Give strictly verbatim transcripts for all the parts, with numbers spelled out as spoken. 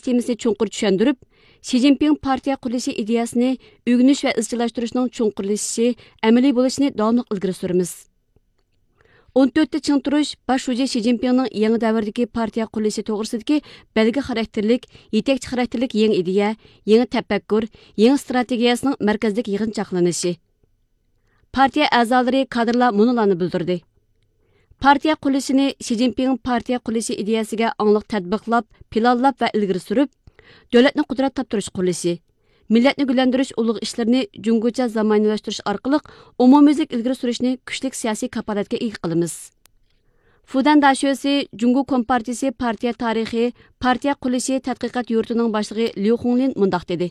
تېمىسىنى چوڭقۇر چۈشەندۈرۈپ، شى جىنپىڭ پارتىيە قۇرۇلۇشى ئىدىيەسىنى ئۆگىنىش ۋە ئىزچىللاشتۇرۇشنىڭ چوڭقۇرلىشىشى، ئەمەلىي بولۇشىنى داۋاملىق ئىلگىرى سۈرىمىز. ئون تۆتتە چىڭ تۇرۇش باش شۇجى شى جىنپىڭنىڭ يېڭى دەۋردىكى پارتىيە قۇرۇلۇشى توغرىسىدىكى بەلگە خاراكتېرلىك، يېتەكچى خاراكتېرلىك يېڭى ئىدىيە، يېڭى تەپەككۇر، يېڭى ئىستراتېگىيەسىنىڭ مەركەزلىك يىغىنچاقلىنىشى. پارتىيە ئەزالىرى، كادىرلار مۇنۇلارنى بىلدۈردى. پارتىيە قۇرۇلۇشىنى شى جىنپىڭ پارتىيە قۇرۇلۇشى ئىدىيەسىگە ئاڭلىق تەتبىقلاپ، پىلانلاپ ۋە ئىلگىرى سۈرۈپ، دۆلەتنى قۇدرەت تاپتۇرۇش قۇرۇلۇشى، مىللەتنى گۈللەندۈرۈش ئۇلۇغ ئىشلىرىنى جۇڭگوچە زامانىۋىلاشتۇرۇش ئارقىلىق ئومۇميۈزلۈك ئىلگىرى سۈرۈشنى كۈچلۈك سىياسىي كاپالەتكە ئىگە قىلىمىز. فۇدەن داشۆسى جۇڭگو كومپارتىيىسى پارتىيە تارىخى، پارتىيە قۇرۇلۇشى تەتقىقات يۇرتىنىڭ باشلىقى ليۇ خۇڭلىن مۇنداق دېدى.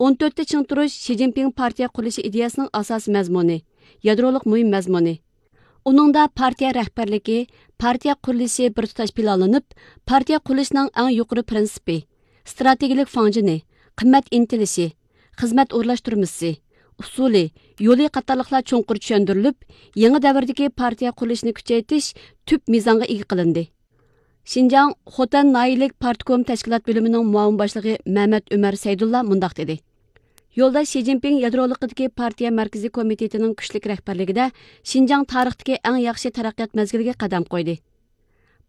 ئون تۆتتە چىڭ تۇرۇش شى جىنپىڭ پارتىيە قۇرۇلۇشى ئىدىيەسىنىڭ ئاساسىي مەزمۇنى، يادرولۇق مۇھىم مەزمۇنى. ئۇنىڭدا پارتىيە رەھبەرلىكى، پارتىيە قۇرۇلۇشى بىر تۇتاش پىلانلىنىپ، پارتىيە قۇرۇلۇشىنىڭ ئەڭ يۇقىرى پىرىنسىپى، ئىستراتېگىيەلىك فاڭجېنى، قىممەت ئىنتىلىشى، خىزمەت ئورۇنلاشتۇرمىسى، ئۇسۇلى، يولى قاتارلىقلار چوڭقۇر چۈشەندۈرۈلۈپ، يېڭى دەۋردىكى پارتىيە قۇرۇلۇشىنى كۈچەيتىش تۈپ مىزانغا ئىگە قىلىندى. شىنجاڭ خوتەن ناھىيەلىك پارتكوم تەشكىلات بۆلۈمىنىڭ مۇئاۋىن باشلىقى مەمەت ئۆمەر سەيدۇللا مۇنداق دېدى. يولداش شى جىنپىڭ يادرولۇقىدىكى پارتىيە مەركىزىي كومىتېتىنىڭ كۈچلۈك رەھبەرلىكىدە شىنجاڭ تارىختىكى ئەڭ ياخشى تەرەققىيات مەزگىلىگە قەدەم قويدى.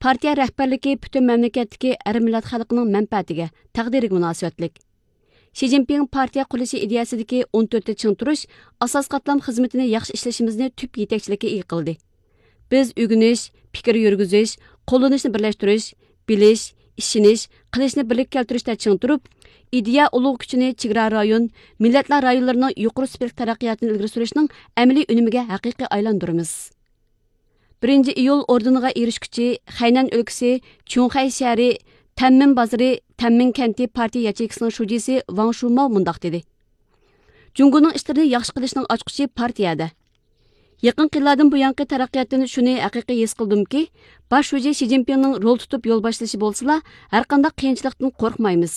پارتىيە رەھبەرلىكى پۈتۈن مەملىكەتتىكى ھەر مىللەت خەلقىنىڭ مەنپەئەتىگە، تەقدىرىگە مۇناسىۋەتلىك. شى جىنپىڭ پارتىيە قۇرۇلۇشى ئىدىيەسىدىكى ئون تۆتتە چىڭ تۇرۇش ئاساسىي قاتلام خىزمىتىنى ياخشى ئىشلىشىمىزنى تۈپ يېتەكچىلىككە ئىگە قىلدى. بىز ئۆگىنىش، پىكىر يۈرگۈزۈش، قوللىنىشنى بىرلەشتۈرۈش، بىلىش، ئىشىنىش، قىلىشنى بىرلىككە كەلتۈرۈشتە چىڭ تۇرۇپ، ئىدىيە ئۇلۇغ كۈچىنى چېگرا رايون، مىللەتلەر رايونلىرىنىڭ يۇقىرى سۈپەتلىك تەرەققىياتىنى ئىلگىرى سۈرۈشنىڭ ئەمەلىي ئۈنۈمىگە ھەقىقىي ئايلاندۇرىمىز. بىرىنچى ئىيۇل ئوردېنىغا ئېرىشكۈچى خەينەن ئۆلكىسى چۈڭخەي شەھىرى تەنمىن بازىرى تەنمىن كەنتى پارتىيە ياچېيكىسىنىڭ شۇجىسى ۋاڭ شۇماۋ مۇنداق دېدى: جۇڭگونىڭ ئىشلىرىنى ياخشى قىلىشنىڭ ئاچقۇچى پارتىيەدە. يېقىنقى يىللاردىن بۇيانقى تەرەققىياتتىن شۇنى ھەقىقىي ھېس قىلدىمكى، باش شۇجى شى جىنپىڭنىڭ رول تۇتۇپ يول باشلىشى بولسىلا، ھەرقانداق قىيىنچىلىقتىن قورقمايمىز.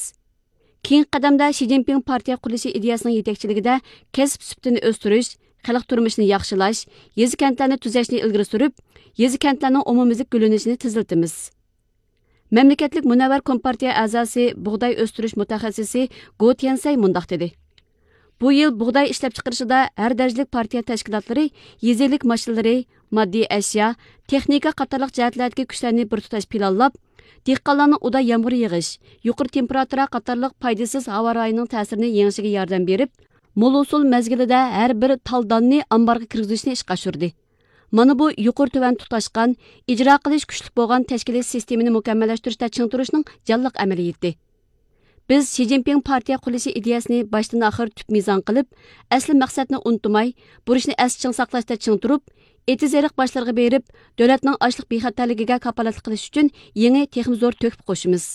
كېيىنكى قەدەمدە شى جىنپىڭ پارتىيە قۇرۇلۇشى ئىدىيەسىنىڭ يېتەكچىلىكىدە كەسىپ سۈپىتىنى ئۆستۈرۈش، خەلق تۇرمۇشىنى ياخشىلاش، يېزا كەنتلەرنى تۈزەشنى ئىلگىرى سۈرۈپ، يېزا كەنتلەرنىڭ ئومۇميۈزلۈك گۈللىنىشىنى تېزلىتىمىز. مەملىكەتلىك مۇنەۋۋەر كومپارتىيە ئەزاسى، بۇغداي ئۆستۈرۈش مۇتەخەسسىسى گو تيەنسەي مۇنداق دېدى: بۇ يىل بۇغداي ئىشلەپچىقىرىشىدا ھەر دەرىجىلىك پارتىيە تەشكىلاتلىرى يېزا ئىگىلىك ماشىنىلىرى، ماددىي ئەشيا، تېخنىكا قاتارلىق جەھەتلەردىكى كۈچلەرنى بىر تۇتاش پىلانلاپ، دېھقانلارنىڭ ئۇدا يامغۇر يېغىش، يۇقىرى تېمپېراتۇرا قاتارلىق پايدىسىز ھاۋا رايىنىڭ تەسىرىنى يېڭىشىگە ياردەم بېرىپ، مول ھوسۇل مەزگىلىدە ھەر بىر تال داننى ئامبارغا كىرگۈزۈشنى ئىشقا ئاشۇردى. مانا بۇ يۇقىرى تۆۋەن تۇتاشقان، ئىجرا قىلىش كۈچلۈك بولغان تەشكىلىي سىستېمىنى مۇكەممەللەشتۈرۈشتە چىڭ تۇرۇشنىڭ جانلىق ئەمەلىيىتى. بىز شى جىنپىڭ پارتىيە قۇرۇلۇشى ئىدىيەسىنى باشتىن ئاخىر تۈپ مىزان قىلىپ، ئەسلى مەقسەتنى ئۇنتۇماي، بۇرچنى ئەستە چىڭ ساقلاشتا چىڭ تۇرۇپ، ئېتىز-ئېرىق باشلىرىغا بېرىپ، دۆلەتنىڭ ئاشلىق بىخەتەرلىكىگە كاپالەتلىك قىلىش ئۈچۈن يېڭى، تېخىمۇ زور تۆھپە قوشىمىز.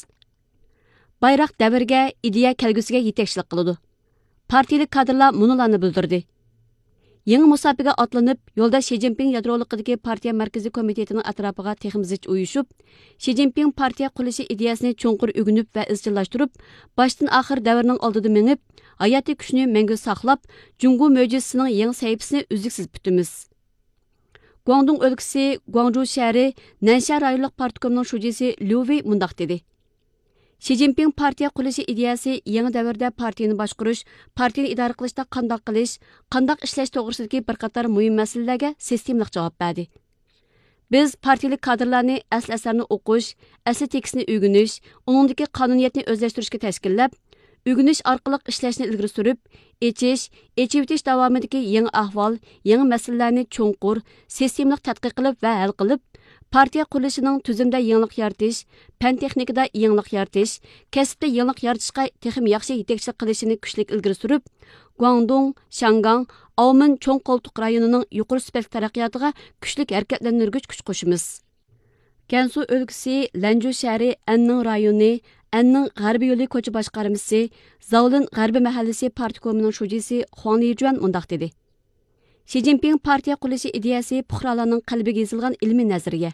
بايراق دەۋرگە، ئىدىيە كەلگۈسىگە يېتەكچىلىك قىلىدۇ. پارتىيىلىك كادىرلار مۇنۇلارنى بىلدۈردى. يېڭى مۇساپىگە ئاتلىنىپ، يولداش شى جىنپىڭ يادرولۇقىدىكى پارتىيە مەركىزىي كومىتېتىنىڭ ئەتراپىغا تېخىمۇ زىچ ئۇيۇشۇپ، شى جىنپىڭ پارتىيە قۇرۇلۇشى ئىدىيەسىنى چوڭقۇر ئۆگىنىپ ۋە ئىزچىللاشتۇرۇپ، باشتىن ئاخىر دەۋرنىڭ ئالدىدا مېڭىپ، ھاياتىي كۈچىنى مەڭگۈ ساقلاپ، جۇڭگو مۆجىزىسىنىڭ يېڭى سەھىپىسىنى ئۈزلۈكسىز پۈتىمىز. گۇاڭدۇڭ ئۆلكىسى گۇاڭجۇ شەھىرى نەنشيا رايونلۇق پارتكومنىڭ شۇجىسى ليۇ ۋېي مۇنداق دېدى: شى جىنپىڭ پارتىيە قۇرۇلۇشى ئىدىيەسى يېڭى دەۋردە پارتىيىنى باشقۇرۇش، پارتىيىنى ئىدارە قىلىشتا قانداق قىلىش، قانداق ئىشلەش توغرىسىدىكى بىر قاتار مۇھىم مەسىلىلەرگە سىستېمىلىق جاۋاب بەردى. بىز پارتىيىلىك كادىرلارنى ئەسلى ئەسەرنى ئوقۇش، ئەسلى تېكىستنى ئۆگىنىش، ئۇنىڭدىكى قانۇنىيەتنى ئۆزلەشتۈرۈشكە تەشكىللەپ، ئۆگىنىش ئارقىلىق ئىشلەشنى ئىلگىرى سۈرۈپ، ئېچىش، ئېچىۋېتىش داۋامىدىكى يېڭى ئەھۋال، يېڭى مەسىلىلەرنى چوڭقۇر، سىستېمىلىق تەتقىق قىلىپ ۋە ھەل قىلىپ، پارتىيە قۇرۇلۇشىنىڭ تۈزۈمدە يېڭىلىق يارىتىش، پەن تېخنىكىدا يېڭىلىق يارىتىش، كەسىپتە يېڭىلىق يارىتىشقا تېخىمۇ ياخشى يېتەكچىلىك قىلىشىنى كۈچلۈك ئىلگىرى سۈرۈپ، گۇاڭدۇڭ، شياڭگاڭ، ئاۋمېن چوڭ قولتۇق رايونىنىڭ يۇقىرى سۈپەتلىك تەرەققىياتىغا كۈچلۈك ھەرىكەتلەندۈرگۈچ كۈچ قوشىمىز. گەنسۇ ئۆلكىسى لەنجۇ شەھىرى ئەننىڭ رايونى، ئەننىڭ غەربىي يولى كوچا باشقارمىسى، زاۋلىن غەربىي مەھەللىسى پارتكومىنىڭ شۇجىسى خۇاڭ لىجۈەن مۇنداق دېدى: شى جىنپىڭ پارتىيە قۇرۇلۇشى ئىدىيەسى پۇقرالارنىڭ قەلبىگە يېزىلغان ئىلمىي نەزەرىيە.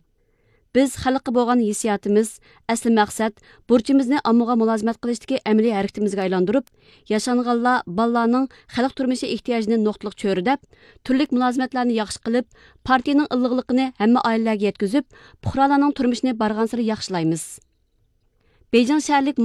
بىز خەلققە بولغان ھېسسىياتىمىز، ئەسلى مەقسەت، بۇرچىمىزنى ئاممىغا مۇلازىمەت قىلىشتىكى ئەمەلىي ھەرىكىتىمىزگە ئايلاندۇرۇپ، ياشانغانلار، بالىلارنىڭ خەلق تۇرمۇشى ئېھتىياجىنى نۇقتىلىق چۆرىدەپ، تۈرلۈك مۇلازىمەتلەرنى ياخشى قىلىپ، پارتىيىنىڭ ئىللىقلىقىنى ھەممە ئائىلىلەرگە يەتكۈزۈپ، پۇقرالارنىڭ تۇرمۇشىنى بارغانسېرى ياخشىلايمىز. بېيجىڭ شەھەرلىك